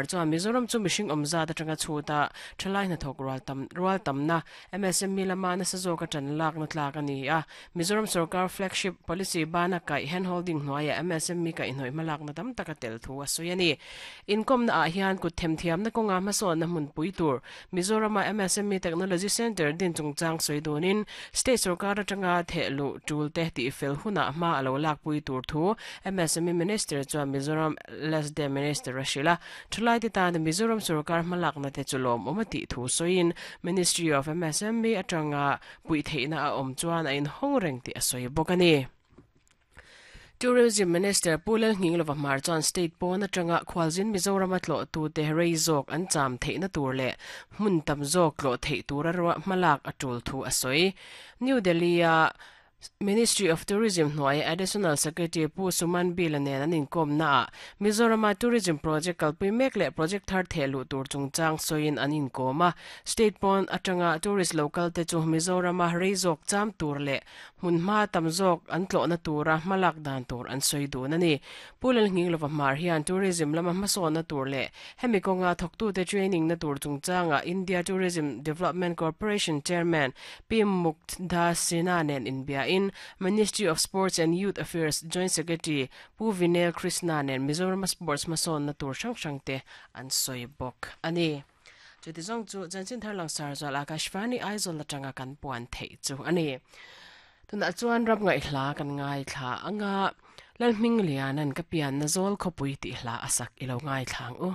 Chuan Mizoram chu mihring awm zat atanga chhut a, thalai hnathawk rual tam rual tamna MSME lama nasa zawka tan lakna tlak a ni a. Mizoram sorkar flagship policy bana kaih handholding hnuaiah MSME kaihhnawih hmalakna tam tak a tel thu a sawi a ni. Inkawmna ah hian kut themthiamna kawnga hmasawnna hmunpui tur Mizorama MSME Technology Centre din chungchang sawi dunin state sorkar atanga thehluh tul te tihfel hunah hma a lo lakpui tur thu MSME Minister chuan Mizoram LSD Minister a hrilh a, thalaite tana Mizoram sorkar hmalakna te chu lawmawm a tih thu sawiin Ministry of MSME atanga puih theihna a awm chuan a inhawng reng tih a sawi bawk a ni. Tourism Minister Pu Lalnghinglova Hmar chuan state pawn atanga khualzin Mizorama tlawhtute rei zawk an cham theihna tur leh hmun tam zawk tlawh theih tura hmalak a tul thu a sawi. New Delhi-a Ministry of Tourism hnuaia Additional Secretary Pu Suman Bila nen an inkawmnaah Mizorama Tourism Project kalpui mek leh project thar theh luh tur chungchang sawiin an inkawm a. State pawn atanga tourist lo kalte chu Mizorama rei zawk cham tur leh hmun hma tam zawk an tlawhna tura hmalak dan tur an sawi dun a ni. Pu Lalnghinglova Hmar hian tourism lama hmasawnna tur leh hemi kawnga thawktute training na tur chungchangah India Tourism Development Corporation Chairman Pi Mukdha Sinha nen inbiain Ministry of Sports and Youth Affairs Joint Secretary Pu Vineel Krishna nen Mizorama sports hmasawnna tur hrang hrangte an sawi bawk a ni. Chuti zawng chu chanchin thar langsar zual Akashvani Aizawl atanga kan puan theih chu a ni. Tunah chuan ram ngaihhla kan ngaithla anga Lalhmingliana'n ka pianna zawl khawpui tih hla a sak i lo ngaithla ang u.